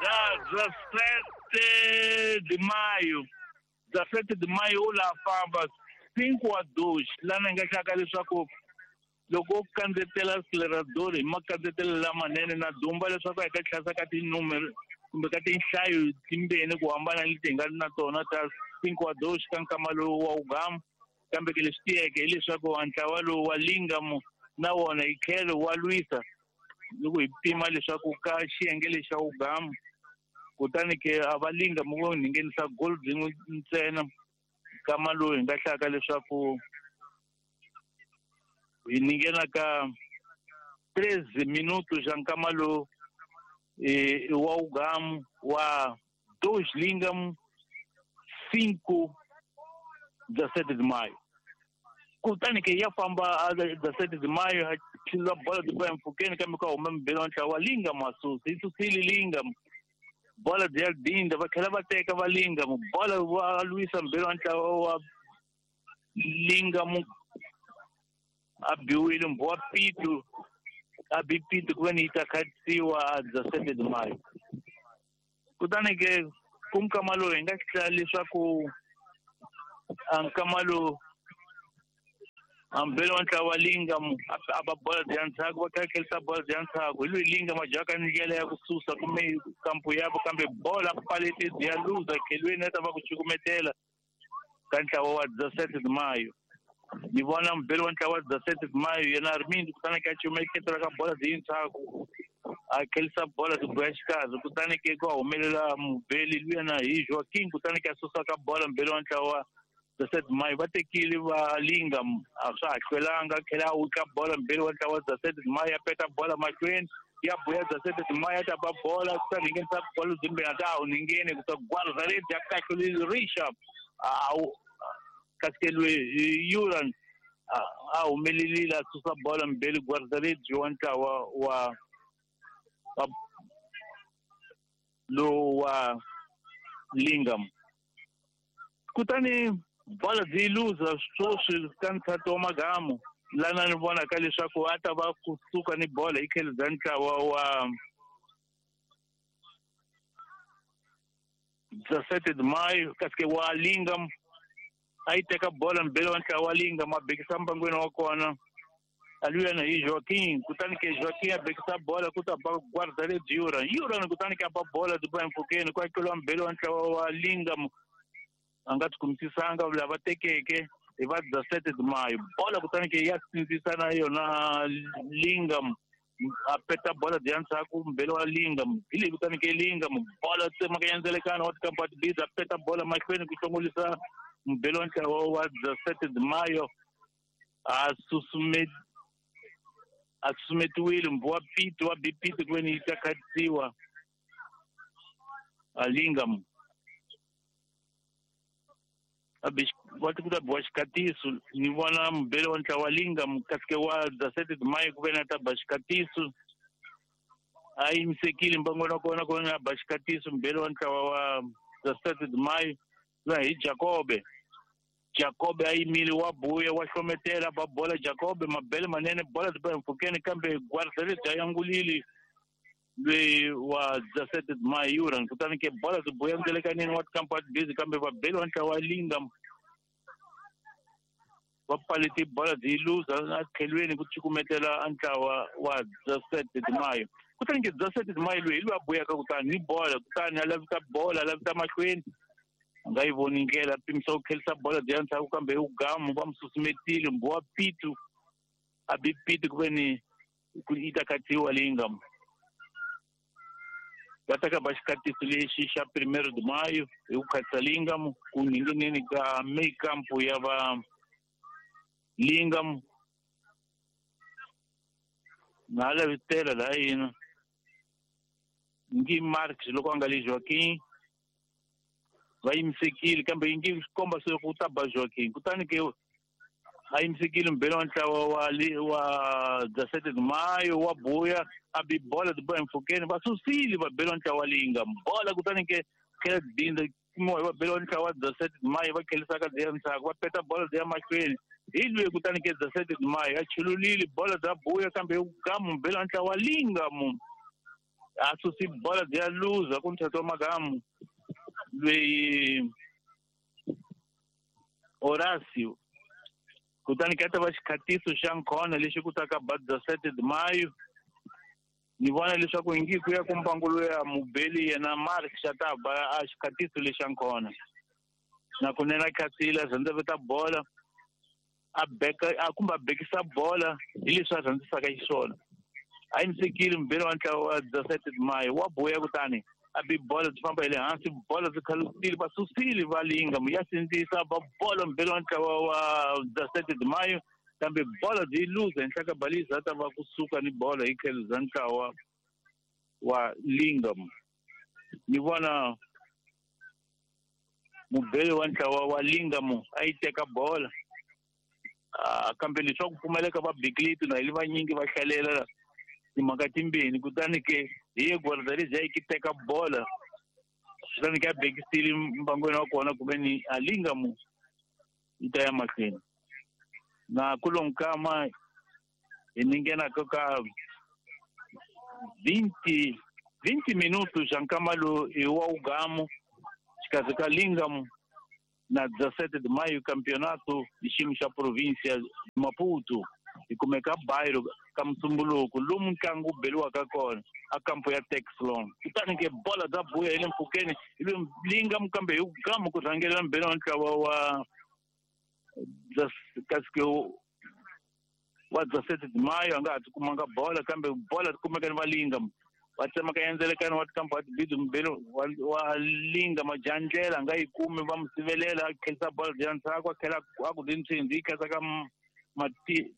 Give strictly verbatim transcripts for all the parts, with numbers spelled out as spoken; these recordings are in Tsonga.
dezessete de maio dezessete de maio u la famba cinco a dois lana hi nga hlaka leswaku loko u kandzetela acelerador hi makandzetelo lamanene na dumba leswaku hi ka tlhasa ka tinumero kumbe ka tinhlayo timbeni ku hambana leti hi nga na tona ta cinco a dois ka nkama lowu wa ugamu kambe ke leswi tiyeke hileswaku ntlawa lowu wa Lingam na wona hi tlhelo wa lwisa loko hi pima leswaku ka xiyenge lexa ugamu kutani ke a va Lingam vo nghenisa goal byin'we ntsena nkama lowu hi nga hlaka leswaku hi ninghena ka treze minutos xa nkama lowu i wa ugamu wa dois Lingam cinco dezessete de maio kutani ke ya famba dezessete de maio a bola de bola mpfhukeni kambe ka huma mubeli wa ntlawa wa Lingam a susa yi susile Lingam bola byi ya dinda va tlhela va teka va Lingam bola va lwisa mubeli wa ntlawa wa Lingam a biwile mbho wa Pitu a bi Pitu ku ve ni yi ta khatisiwa dezessete de maio kutani ke ku nkama lowu hi nga hlaya leswaku a nkama lowu ambele wa ntlawa wa Lingam a ba bola bya ndzhaku va kha khelisa bola bya ndzhaku hi loyi Lingam a jaka ndlela ya ku susa kumbe kampo yabo kambe bola palete bya luza khelweni a ta va ku cukumetela ka ntlawa wa dezessete de maio ni vona mubeli wa ntlawa wa dezessete de maio yena Armindo kutani ke a cumeketela ka bola byi ndzhaku a khelisa bola byi boya xikarhi kutani ke ku humelela mubeli luyena hi Joaquim kutani ke a susa ka bola mubeli wa ntlawa wa dezessete de maio va tekile va Lingam a swa ha hlwelanga tlhela a wutla bola mubeli wa ntlawa wa dezessete de maio ya peta bola mahlweni ya buya dezessete de maio ya ta ba bola kutani hi nghenisa bola byimbeni a ta ha wu ningheni ku ta guarda-redes ya kahle rixa a kasi ke loyi Yuran a humelerile a susa bola mubeli guarda-redes wa ntlawa wa wa lowu wa Lingam kutani bola byi luza sweswi ka ntshato wa magamu lana ni vonaka leswaku a ta va kusuka ni bola hi tlhelo bya ntlawa wa dezessete de maio kasi ke wa Lingam a yi teka bola mubeli wa ntlawa wa Lingam a bekisa mbangweni wa kona a luyana hi Joaquim kutani ke Joaquim a bekisa bola ku ta ba guarda-redes Yuran Yuran kutani ke a ba bola byi ba mpfhukeni ku akeliwa mubeli wa ntlawa wa Lingam a nga tikumisisanga lava tekeke hi va dezessete de maio bola kutani ke ya sindzisa na yona Lingam a peta bola bya ndzhaku mubeli wa Lingam hi leyi kutani ke Lingam bola tsemaka ya ndzelekano wa tikampa tibiza a peta bola mahlweni ku hlongolisa mubeli wa ntlawa wa dezessete de maio a susume a susumetiwile mbho wa Pitu wa bi Pitu ku ve ni yi ta khatisiwa a Lingam va ti ku ta biwa xikatiso ni vona mubeli wa ntlawa wa Lingam kasi ke wa dezessete de maio ku ve ni a ta ba xikatiso a yimisekile mbangweni wa kona ku ve ni a ba xikatiso mubeli wa ntlawa wa dezessete de maio luya hi Jacobe Jacobe a yimile wa buya wa hlometela ba bola Jacobe mabele manene bola byi ba mpfhukeni kambe guarda-redes a yangulile loyi wa dezessete de maio Yuran kutani ke bola byi buya ndelekanini wa tikampa tibizi kambe vabeli wa ntlawa wa Lingam va palete bola byi luza a tlhelweni ku cukumetela a ntlawa wa dezessete de maio kutani ke dezessete de maio loyi hi loyi a buyaka kutani ni bola kutani a lavita bola a lavita mahlweni a nga yi voni ndlela pimisa ku khelisa bola byi ya ndzhaku kambe ugamu va mu susumetile mbho wa Pitu a bi Pitu ku ve ni ku yi ta khatsiwa Lingam va teka ba xikatiso lexi xa primeiro de maio hi ku khatisa Lingam ku ngheneni ka meio campo ya va Lingam na lavitela laha yina ngi Marx loko a nga le Joaquim va yimisekile kambe yi nge komba se ku ta ba Joaquim kutani ke a yimisekile mubeli wa ntlawa wa wa dezessete de maio wa buya a bi bola byi boya mpfhukeni va susile vabeli wa ntlawa wa Lingam bola kutani ke tlhela dinda kumiwa hi vabeli wa ntlawa wa dezessete de maio va khelisaka byi ya ndzhaku va peta bola byi ya mahlweni hi loyi kutani ke dezessete de maio a chululile bola bya buya kambe gamu mubeli wa ntlawa wa Lingam A susi bola byi ya luza ku nthatho wa magamu lweyi Horacio. Kutani ka ta va xikhatiso xa nkhona lexi ku taka ba dezessete de maio. Ni vona leswaku ingi ku ya ku mbangulo ya mubeli yena Mark xa ta ba a xikhatiso lexa nkhona. Na kunene a khatsile a rhandzaveta bola a beka a kumbe a bekisa bola hi leswi a rhandzisaka xiswona. A yimisekile mubeli wa ntlawa wa dezessete de maio wa buya kutani a bi bola byi famba hi le hansi bola byi khalutile va susile va linga ya sindzisa ba bola mubeli wa ntlawa wa dezessete de maio kambe bola byi luza henhla ka balisa a ta va kusuka ni bola hi tlhelo bya ntlawa wa Lingam. Ni vona mubeli wa ntlawa wa Lingam a yi teka bola kambe leswaku pfumaleka va bikileti na hi vanyingi va hlalela timhaka timbirhi kutani ke hi ye guarda-redes yi ki teka bola kutani ke a bekisile mbangweni wa kona kumbe ni a Lingam yi ta ya mahlweni. Na kulonkama hi ni nghenaka ka vinte vinte minutos xa nkama lowu i wa ugamu xikarhi ka Lingam na dezessete de maio campeonato hi xiyimo xa província Maputo hi kumeka bairro ka Musumbuluko lomu ntlangu wu beliwaka kona a kampo ya Texlon. Kutani ke bola bya buya hi le mpfhukeni ivi Lingam kambe hi ugamu ku rhangelela mbeli wa ntlawa wa kasi wa dezessete de maio a nga ha ti kumanga bola kambe bola ti kumeka ni va Lingam va tsemaka endzelekani wa tikampa wa tibidi mubeli wa Lingam a dya ndlela a nga yi kumi va mu sivelela a khelisa bola bya ndzhaku a tlhela a ku dintshindzi yi khensa ka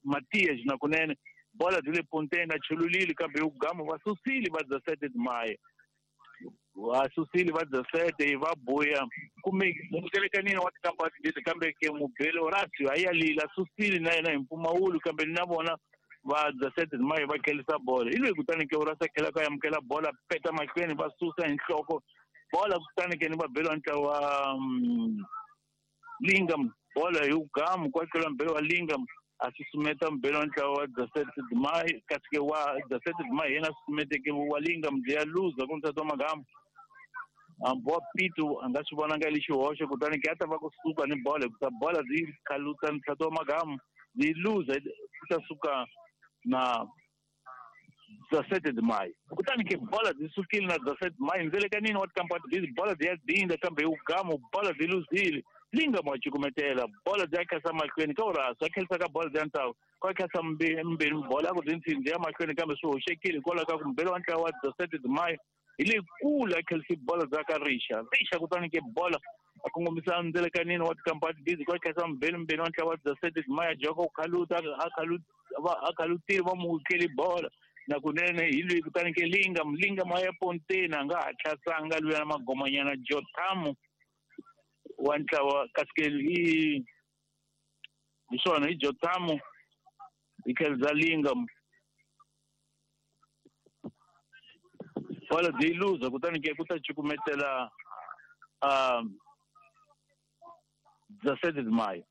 Matias na kunene bola byi le ponteni a chululile kambe hi ugamu va susile va dezessete de maio va susile va dezessete va buya kumbe mutelekanini wa tikampa tibidi kambe ke mubeli Horacio a ya lila susile na yena hi mpfumawulo kambe na vona va dezessete de maio va khelisa bola hi loyi kutani ke Horacio a tlhela ka amukela bola peta mahlweni va susa hi nhloko bola kutani ke ni va beliwa ntlawa wa Lingam bola hi ugamu kwa tlhela mubeli wa Lingam a susumeta mubeli wa ntlawa wa dezessete de maio kasi ke wa dezessete de maio yena a susumeteke wa Lingam byi ya luza ku nsati wa magamu hambi wa Pito a nga swi vonanga lexi hoxo kutani ke a ta va kusuka ni bola hikusa bola byi khaluta ntlhatu wa magamu byi luza ku ta suka na dezessete de maio. Kutani ke bola byi sukile na dezessete de maio ndzelekanini wa tikampa tibili bola byi ya dinda kambe hi ugamu bola byi luzile Lingam wa cukumetela bola byi ya khasa mahlweni ka Horacio a khelisa ka bola bya ntlawa kwa khasa mbirhi bola a ku dintshindzi ya mahlweni kambe swi hoxekile hikwalaho ka ku mubeli wa ntlawa wa dezessete de maio hi le kule a khelisi bola bya ka Rixa Rixa kutani ke bola a kongomisa ndzelekanini wa tikampa tibili kwa khasa mbirhi mbirhi wa ntlawa wa dezessete de maio a joka ku khaluta a khalutile va mu tleli bola na kunene hi loyi kutani ke Lingam Lingam a ya ponteni a nga ha hlasanga luya na magomanyana Jotamu wa ntlawa kasi ke hi hi swona hi Jotamu hi tlhelo bya Lingam bola byi luza kutani ke ku ta cukumetela um dezessete de maio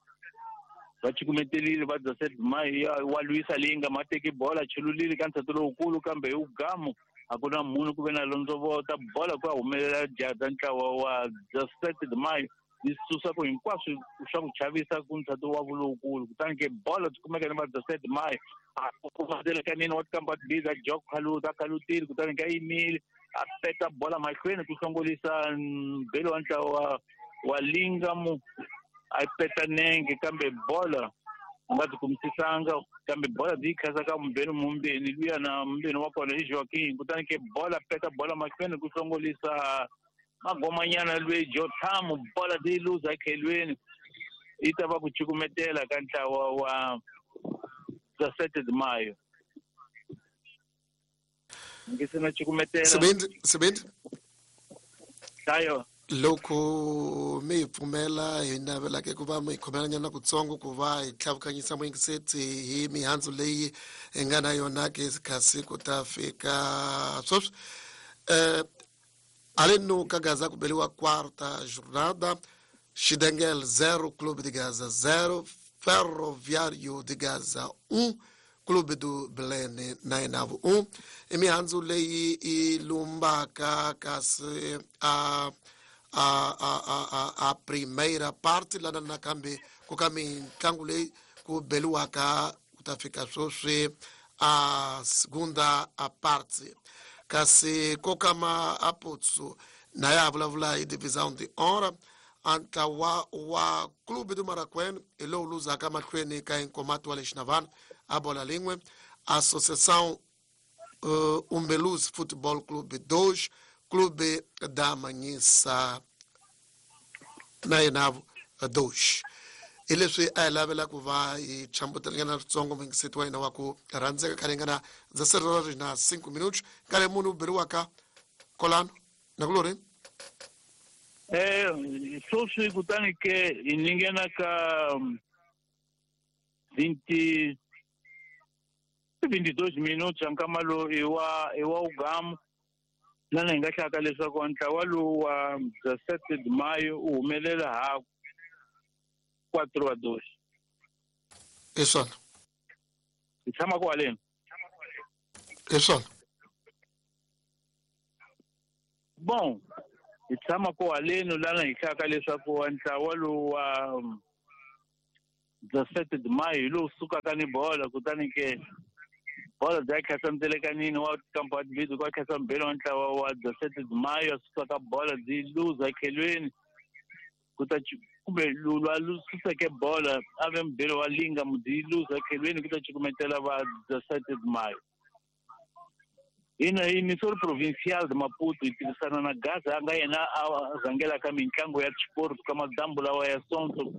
va cukumetelile va dezessete de maio wa lwisa Lingam a teki bola chululile ka ntshato lowukulu kambe hi ugamu a ku na munhu ku ve na londzovota bola ku ya humelela jada ntlawa wa dezessete de maio yi susa ku hinkwaswo swa ku chavisa ku ntshato wa vulowukulu kutani ke bola byi kumeka ni va dezessete de maio a kumatselekanini wa tikampa tibili a jok khaluta a khalutile kutani ke a yimile a peta bola mahlweni ku hlongolisa mbeli wa ntlawa wa Lingam a peta nenge kambe bola a nga byi kumisisanga kambe bola byi yi khasa ka mubeni mumbeni luya na mumbeni wa kona i Joaquin kutani ke bola peta bola mahlweni ku hlongolisa magomanyana lweyi Jotamu bola byi luza ekhelweni yi ta va ku cukumetela ka ntlawa wa dezessete de maio. Ngi se na cukumetela Sibindi Sibindi Hlayo loko mi hi pfumela hi navelaka ku va mi khomelanyana kutsongo ku va hi tlhavukanyisa muyingiseti hi mihandzu leyi hi nga na yona ke kasi ku ta fika sweswi um haleno ka Gaza ku beliwa quarta jornada Xidengel zero Clube de Gaza zero Ferroviário de Gaza um Clube do Belém na yena um i mihandzu leyi i lumbaka kasi a a a a a primeira parte lana nakambe ku ka mitlangu leyi ku beliwaka ku ta fika sweswi a segunda a parte kasi kokama a potso na ya vulavula hi divisão de honra a ntlawa wa Clube do Maracuene hi lowu luzaka mahlweni ka Inkomato wa le Xinavana a bola lin'we Associação uh, Umbeluz Futebol Clube dois Clube da Manhissa na yena dois hi leswi a hi lavela ku va hi chambutelanyana switsongo muyingiseti wa hina wa ku rhandzeka ka ringana dezesseis na cinco minutos nkarhi munhu u beriwaka kolano nakulori eh sweswi kutani ke hi ninghena ka vinte vinte e dois minutos nkama lowu i wa i wa ugamu lana hi nga hlaka leswaku ntlawa lowu wa dezessete de maio u humelela ha quatro a dois hi swona hi tshama kwaleni hi swona bon hi tshama kwaleni lana hi hlaka leswaku ntlawa lowu wa dezessete de maio hi lowu sukaka ni bola kutani ke bola bya khasa mtelekanini wa kampa bidzi kwa khasa mbele wa ntlawa wa dezessete de maio sukaka bola byi luza khelweni kuta kumbe lwa suseke bola a ve mbele wa linga mudzi luza khelweni kuta cukumetela va dezessete de maio hina hi Missouri Provincial de Maputo hi tirhisana na Gaza a nga yena a rhangelaka mitlangu ya sport ka madambu lawa ya Sonto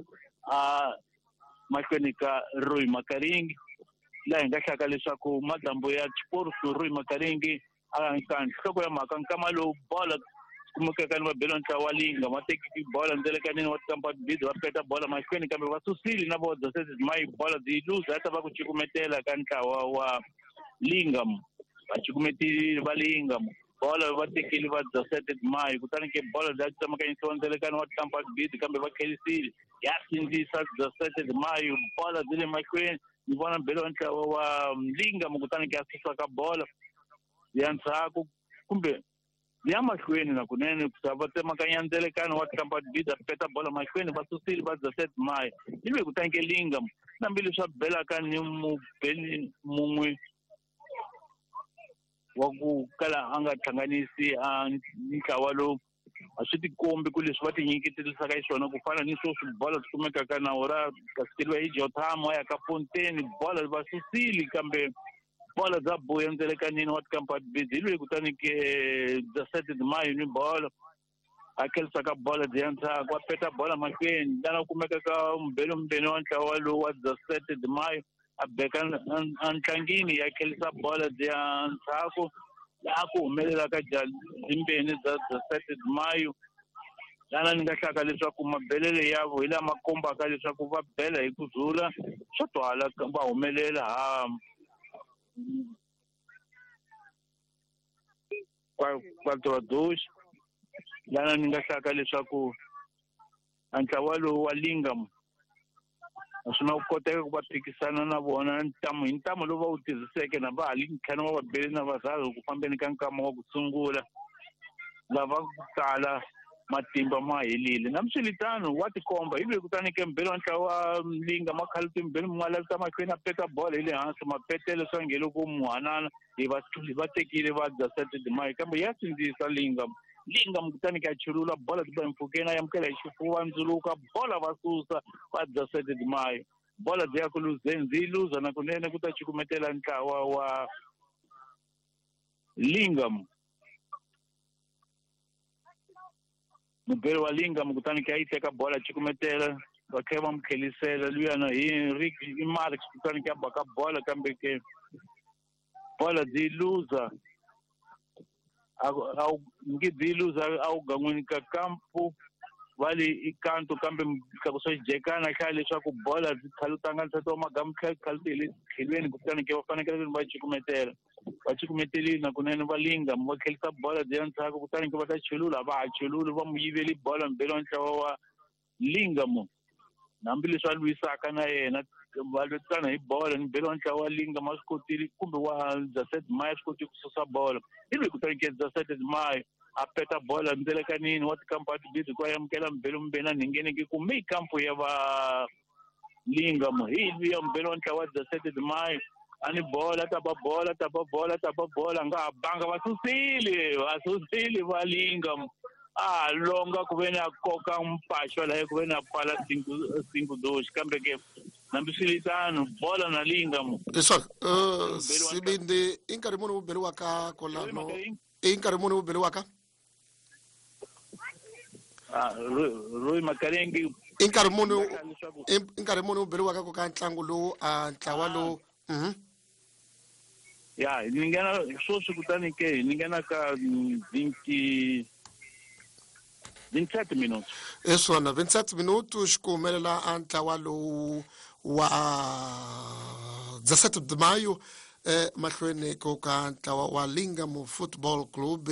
a mahlweni ka Roy Makaringi laha hi nga hlaka leswaku madambu ya sport Roy Makaringi a ka nhloko ya mhaka nkama lowu bola kumekaka ni vabelo ntlawa wa linga va tekiki bola ndzelekanini wa tikampa bidzi va peta bola mahlweni kambe va susile na vo dezessete de maio bola byi luza ta va ku cukumetela ka ntlawa wa linga va cukumetile va linga bola va tekile va dezessete de maio kutani ke bola bya tsemakanyisiwa ndzelekani wa tikampa bidzi kambe va khelisile ya sindzisa dezessete de maio bola byi le mahlweni ni vona mbelo wa ntlawa wa linga kutani ke a susa ka bola ya ndzhaku kumbe ya mahlweni na kunene va tsemakanya ndzelekano wa tikampa bidzi a peta bola mahlweni va susile va dezessete de maio ivi kutani ke linga hambileswi a belaka ni mubeli mun'we wa ku kala a nga hlanganisi a ntlawa lowu a swi tikombi ku leswi va tinyiketerisaka xiswona ku fana ni sweswi bola swi kumekaka nawu ra kasikeliwa hi Jotham wa ya ka Ponteni bola va susile kambe bola bya buya ndzelekanini wa tikampa bidzi hi loyi kutani ke dezessete de maio ni bola a khelisaka bola byi ya ndzhaku a peta bola mahlweni lana kumeka ka mbelo mbeni wa ntlawa lowu wa dezessete de maio a beka ntlangini ya khelisa bola byi ya ndzhaku laha ku humelelaka byimbeni bya dezessete de maio lana ni nga hlaka leswaku mabelele yavo hi lama kombaka leswaku va bela hi ku zula swo twala va humelela ha quatro a dois lana ni nga hlaka leswaku ntlawa lowu wa lingam a swi na ku koteka ku va phikisana na vona ntamu hi ntamu lowu va wu tirhiseke na va hali ntlhanu wa vabeli na varharhu ku fambeni ka nkama wa ku sungula lava ku tala matimba ma helile nambiswiritano wa tikomba hi loyi kutani ke mbeli wa ntlawa wa linga makhaluti mbeli mun'we mahlweni a peta bola hi le hansi mapetelo swa nge loko muhanana hi va va tekile va dezessete de maio kambe ya sindzisa linga linga kutani ke a chulula bola ti ba mpfhukeni a amukela hi xifuva ndzuluka bola va susa va dezessete de maio bola byi ya ku luzeni byi luza na kunene ku ta cukumetela ntlawa wa lingam mubeli wa lingam kutani ke a yi teka bola cukumetela va tlhela va mu khelisela luyana hi Rick i Marx kutani ke a baka bola kambe ke bola byi luza a nge byi luza a wu gan'wini ka kampu va le i kanto kambe tlakusa xijekana hlaya leswaku bola byi khalutanga nsati wa magamu khaluti hi le tlhelweni kutani ke va fanekele va cukumetela va cukumetelile nakunene va linga va khelisa bola byi ya ndzhaku kutani ke va ta chulula va ha chululi va mu yiveli bola mbeli wa ntlawa wa lingam hambileswi a lwisaka na yena va lwetana hi bolo ni belo ntlawa wa Linga ma swi kotile kumbe wa Zased Maya swi kotile ku susa bolo ivi kutani ke Zased Maya a peta bola ndzelekanini wa tikampu a tibisi ku amukela mbelo mbena nhingeneke kumbe ikampu ya va Linga mo hi ya mbelo wa ntlawa wa Zased Maya ani bola ta ba bola ta ba bola ta ba bola nga banga va susile va susile va Linga a longa ku ve na koka mpaxo laha ku ve na pfala cinco cinco dois kambe ke nambiswiritano bola na Linga mo leswaku sibindi i nkarhi muni wu beriwaka kolano i nkarhi muni wu beriwaka ah Roy Makarenge i nkarhi muni i nkarhi muni wu beriwaka ku ka ntlangu lowu a ntlawa lowu mhm ya ni nghena sweswi kutani ke ni nghena ka vinte vinte minutos hi swona vinte minutos ku humelela a ntlawa lowu wa dezessete de maio eh, mahlweni ko ka ntlawa wa Lingam Football Club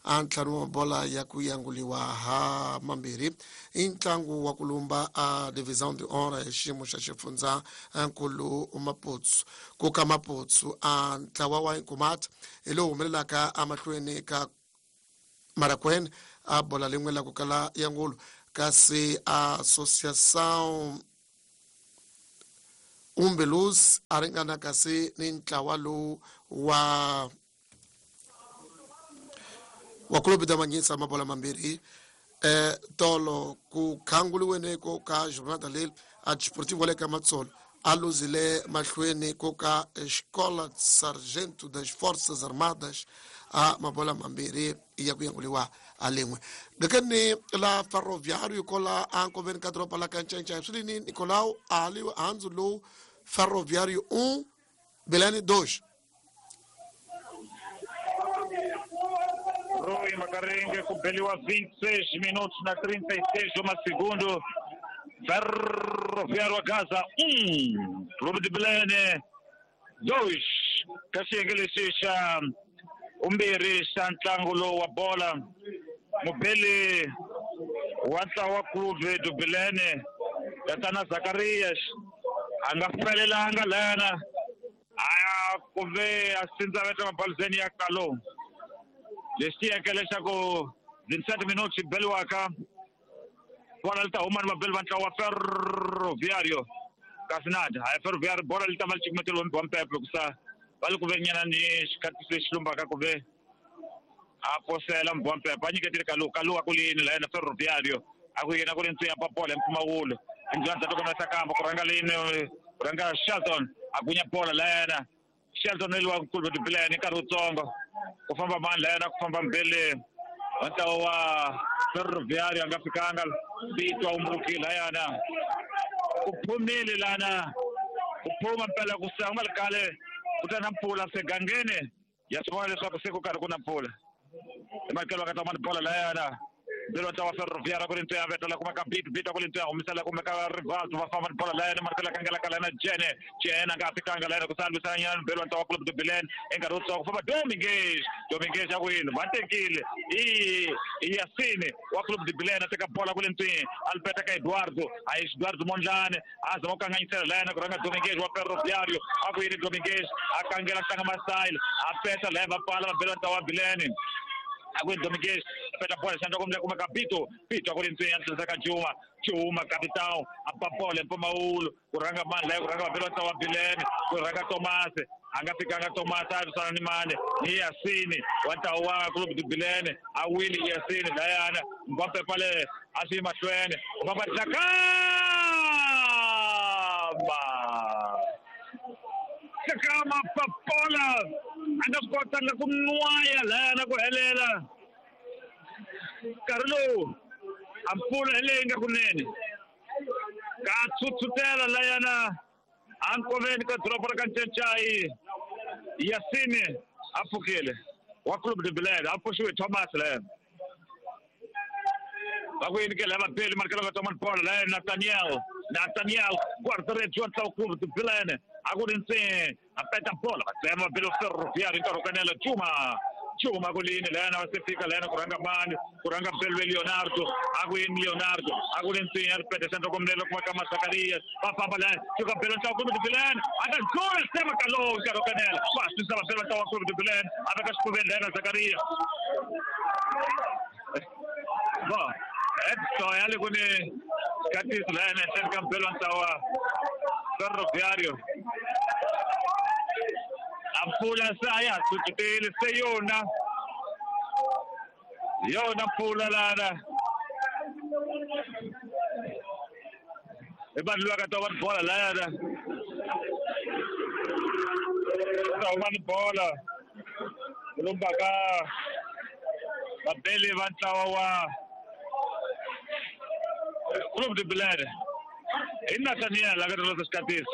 a ntlhanu wa bola ya ku yanguliwa ha mambirhi i ntlangu wa ku lumba a Divisão de Honra hi xiyimo xa xifundza nkulu Maputsu ku ka Maputsu a ntlawa wa Nkumati hi lowu humelelaka emahlweni ka Marakwene a bola lin'we la ku kala ya ngulu kasi Associação Umbelus a ringana kasi ni ntlawa lowu wa wa Clube da Manhisa mabola mambirhi eh tolo ku khanguliweni ko ka jornada leyi a Desportivo le ka Matsolo a luzile mahlweni ko ka Escola de Sargento das Forças Armadas a mabola mambirhi ya ku yanguliwa a lin'we ngekeni la Ferroviário kola a nkoveni ka doroba la ka Ncancai swi lini Nicolau ali handzu lowu Ferroviário um Belane dois Roy Makarenge ku beliwa vinte e seis minutos na trinta e seis uma segundo Ferroviário a Gaza um Clube de Belene dois ka xiyenge lexi xa umbirhi xa ntlangu lowu wa bola mubeli wa ntlawa Clube do Belene tatana Zacarias a nga felelanga lana a ku ve a sindzaveta mabalizeni ya kalo lexi tiyeke leswaku vinte minutos beliwaka bola li ta huma ni vabeli va ntlawa wa Ferroviário kasi nada a Ferroviário bola li ta va li cukumeteriwe wa mpepe ku sa va li ku ve nyana ni xikhatisi lexi lumbaka ku ve a posela mbompepe a nyiketile kalu kalu a ku lini la yena Ferroviário a ku yena ku ri ntsuya papola hi mpfumawulo endlwani ta tokona sakamba ku rhanga lini ku rhanga Shelton a gunya bola la yena Shelton ni wa Clube de Belene nkarhi wutsongo ku famba mani la yena ku famba mbele wa ntlawa wa Ferroviário a nga fikanga Bitwa umbuki la yena ku phumile lana ku phuma mpela ku sa nga ri kale ku ta na mpfula segangeni ya swi vona leswaku se ku karhi ku na mpfula emakelo ka ta mani bola la yena mbelo ntlawa Ferroviário ku ri ntsuya vetela kuma ka Bit Bit ku ri ntsuya humisela kumbe ka Rivaldo va famba ni bola la yena marikelo kangela ka lena Jene Jene a nga fikanga la yena ku sa lwisana nyana mbelo ntlawa Clube de Belene enkarhi wutsongo ku famba Domingues Domingues ya ku yini va tekile i Yasini wa Clube de Belene a teka bola ku le ntswini a li peta ka Eduardo a yi Eduardo Mondlane a zama ku kanganyisela la yena ku rhanga Domingues wa Ferroviário a ku yini Domingues a kangela tlanga masayile a peta la va pfala va bela ntlawa wa Belene a ku Domingues peta bola xandla kumbe kuma ka Bito Bito a ku ri ntswini a tlherisa ka Juma Juma capitão a ba bola mpfumawulo ku rhanga mani laha ku rhanga vabeli va ntlawa wa Belene ku rhanga Thomas a nga fikanga Thomas a lwisana ni mani ni Yasini wa ntlawa wa Clube de Belene a wile Yasini layana Mbappe le a swi mahlweni ku famba Dlakama Dlakama papola a nga swi kotanga ku nwaya layana ku helela nkarhi lowu a mpfula hi leyi nga kunene ka tshutshutela layana a nkoveni ka doroba ra ka Ncancai Yasini a pfukile wa Clube de Belene a pfuxiwe Thomas layana va ku yini ke lava beli marikelo ka Thomas bola layana Nathaniel Nathaniel guarda-redes wa ntlawa Clube de Belene a ku ri ntsini a peta bola va tsema va beli Ferroviário nkarhi wo kanela Juma Chuma kulini lana wasefika lana kuranga mani kuranga Belwe Leonardo akwini Leonardo akulensinya ripete sento komlelo kuma kama Zakaria bafamba lana chuka Belwe ntawa Clube de Belém akazula sema kalo karo kanela basisa Belwe ntawa Clube de Belém abakashikubeni lana Zakaria ba Edson yale kune katis lana sento Belwe ntawa Ferroviario ampula saya tutele seyona yona pula lana ebantu ka toba bola lana toba bola lumba ka babele bantlawa wa Clube de Belém ina tania la ka los katis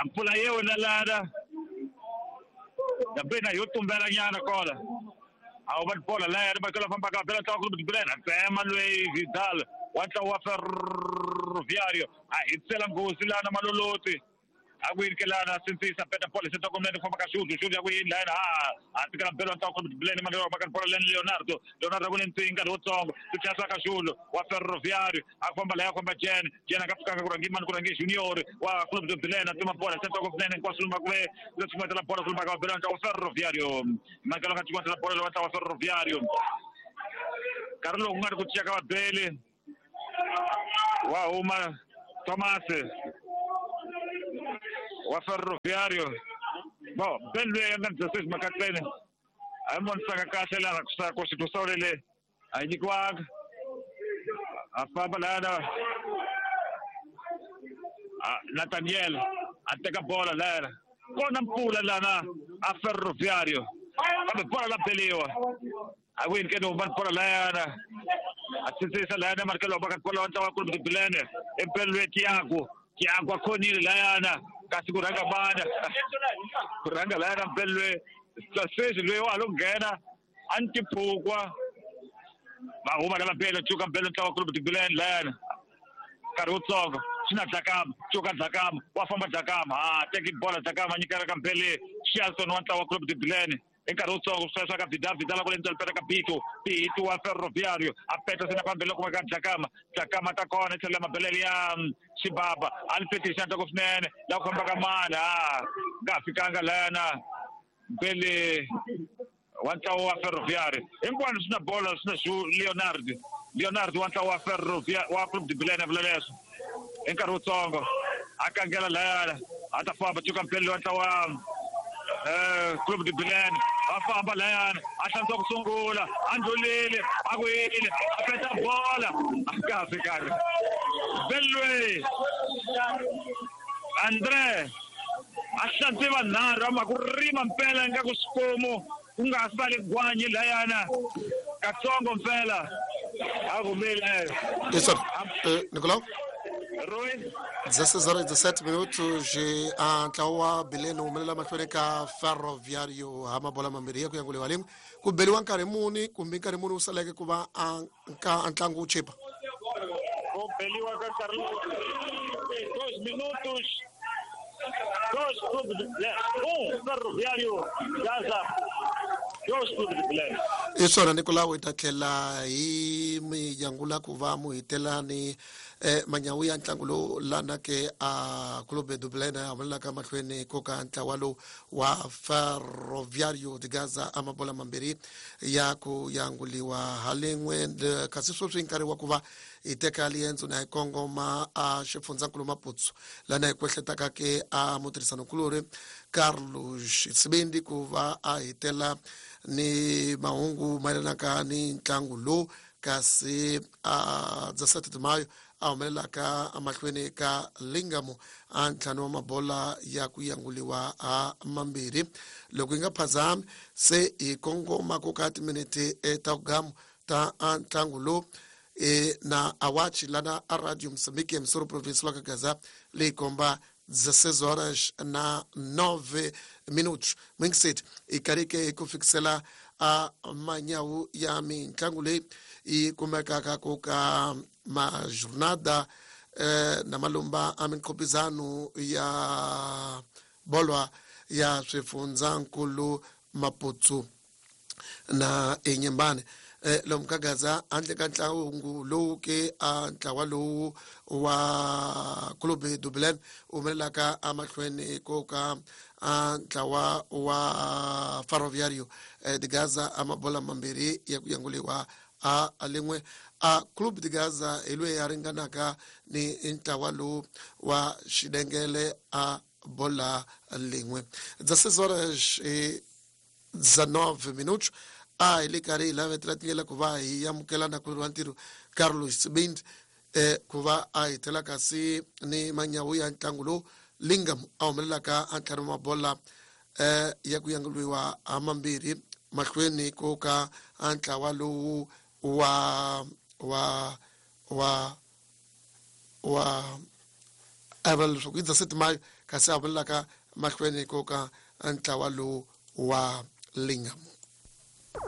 ampula yona lana Dabena yotumbela nyana kola. Awu bola la ya ba kala famba ka bela ta Clube de Belém. Emanuel Vidal wa wa Ferroviario. A hitsela ngozi lana maloloti. Akwini ke lana sintsisa peta bola sento komnene famba ka shudu shudu akwini lana a tikala bela ta Clube de Belém Manuel ba bola lana Leonardo. Leonardo kunentinga lotsongo. Tuchasa ka shudu wa Ferroviario. Akufamba la yakufamba Jen. Jen akafika kurangi man kurangi Junior wa Clube de Belém tuma bola sento komnene kwasuluma kwe lotsuma bola kuluma ka bela ta Ferroviario. Makalo ka tuma bola wa ta Ferroviario. Carlo ngari kuchaka wa Bele. Wa uma Thomas wa Ferroviario. Bom, Belwe nga dezesseis makatsene. Amon saka kahle lana kusako situsolele. Ayinyikwanga. Afamba lana. Nathaniel ateka bola lana. Kona mpula lana a Ferroviario. Kambe bola la beliwa. Awin ke no ban bola lana. Atsitsisa lana markelo baka bola wa twa Clube de Belém. Empelwe Tiago. Tiago akhonile lana. Kasi kuranga bana kuranga lana mpelwe sasezi lwe wa longena antiphukwa bahuma lava bele chuka mpelwe ntlawa Clube de Belém lana nkarhi wutsongo swi na Dlakama cuka Dlakama wa famba Dlakama ha teki bola Dlakama nyikela ka mpele Shelton wa ntlawa Clube de Belém hi nkarhi wutsongo swi swa ka Vidal Vidal ku lentswa peta ka Bito Bito wa Ferroviario a peta sina pambele kuma ka Dlakama Dlakama ta kona tlhela mabelele ya Xibaba a ni petisa ntsako swinene la ku famba ka mani a nga fikanga lana mpele wa ntlawa wa Ferroviario hinkwano swi na bola swi na Leonardo Leonardo wa ntlawa wa Ferroviario wa Clube de Belém vula leswo hi nkarhi wutsongo a kangela lana a ta famba cuka mpele wa ntlawa Clube de Belém afamba lana a hlantswa ku sungula a ndlulile a ku yini a peta bola a nga fikanga Belwe André a hlantswe vanharhu ama ku rima mpela nga ku xikomu ku nga sali gwanyi layana katsongo mpela a kumile Isso, Nicolau? Roy dezesseis horas e dezessete minutos a ntlawa Belém humelela mahlweni ka Ferroviario ha mabola mambirhi ya ku yanguliwa limwe ku beliwa nkarhi muni kumbe nkarhi muni wu saleke ku va a ka ntlangu wu chipa ku beliwa ka nkarhi dois minutos dois Clube de Belém um Ferroviario Gaza dois Clube de Belém hi swona Nicolau hi ta tlhela hi mi yangula ku va mu hitela ni eh manyawu ya ntlangu lowu lana ke a Clube de Belém ya humelelaka mahlweni ko ka ntlawa lowu wa Ferroviario de Gaza a mabola mambirhi ya ku yanguliwa halin'we kasi sweswi nkarhi wa ku va hi teka liendzo na hi kongoma a xifundzankulu Maputo lana hi kwehletaka ke a mutirhisanokulori Carlos Sibindi ku va a hitela ni mahungu mayelanaka ni ntlangu lowu kasi a dezessete de maio a humelelaka emahlweni ka Lingamo a ntlhanu wa mabola ya ku yanguliwa a mambirhi loko yi nga phazami se hi kongoma ku ka timinete ta kugamu ta ntlangu lowu e na awachi lana a radio Moçambique emissora provincial ka Gaza leyi komba dezesseis horas na nove minutos mingiseti i karike ku fikisela a manyawu ya mintlangu leyi yi kumekaka ku ka majornada eh, na malumba a minkhopizano ya bolwa ya swifundzankulu Maputo. Na Inhambane eh lomu ka Gaza handle ka ntlangu lowu ke a ntlawa lowu wa Clube do Belém humelelaka emahlweni ko ka a ntlawa wa Ferroviário de Gaza a mabola mambirhi ya ku yanguliwa a lin'we a Clube de Gaza hi loyi a ringanaka ni ntlawa lowu wa Xidengele a bola lin'we. dezesseis horas e dezenove minutos. A hi le karhi hi lavetela tindlela ku va hi amukela na ku wa ntirho Carlos Bind eh ku va a hi tela kasi ni manyawu ya ntlangu lowu Lingam a humelelaka a ntlhanu mabola eh ya ku yanguliwa ha mambirhi mahlweni ko ka a ntlawa lowu wa wa wa wa a vula leswaku i dezessete maio kasi a humelelaka mahlweni ko ka ntlawa lowu wa Lingam.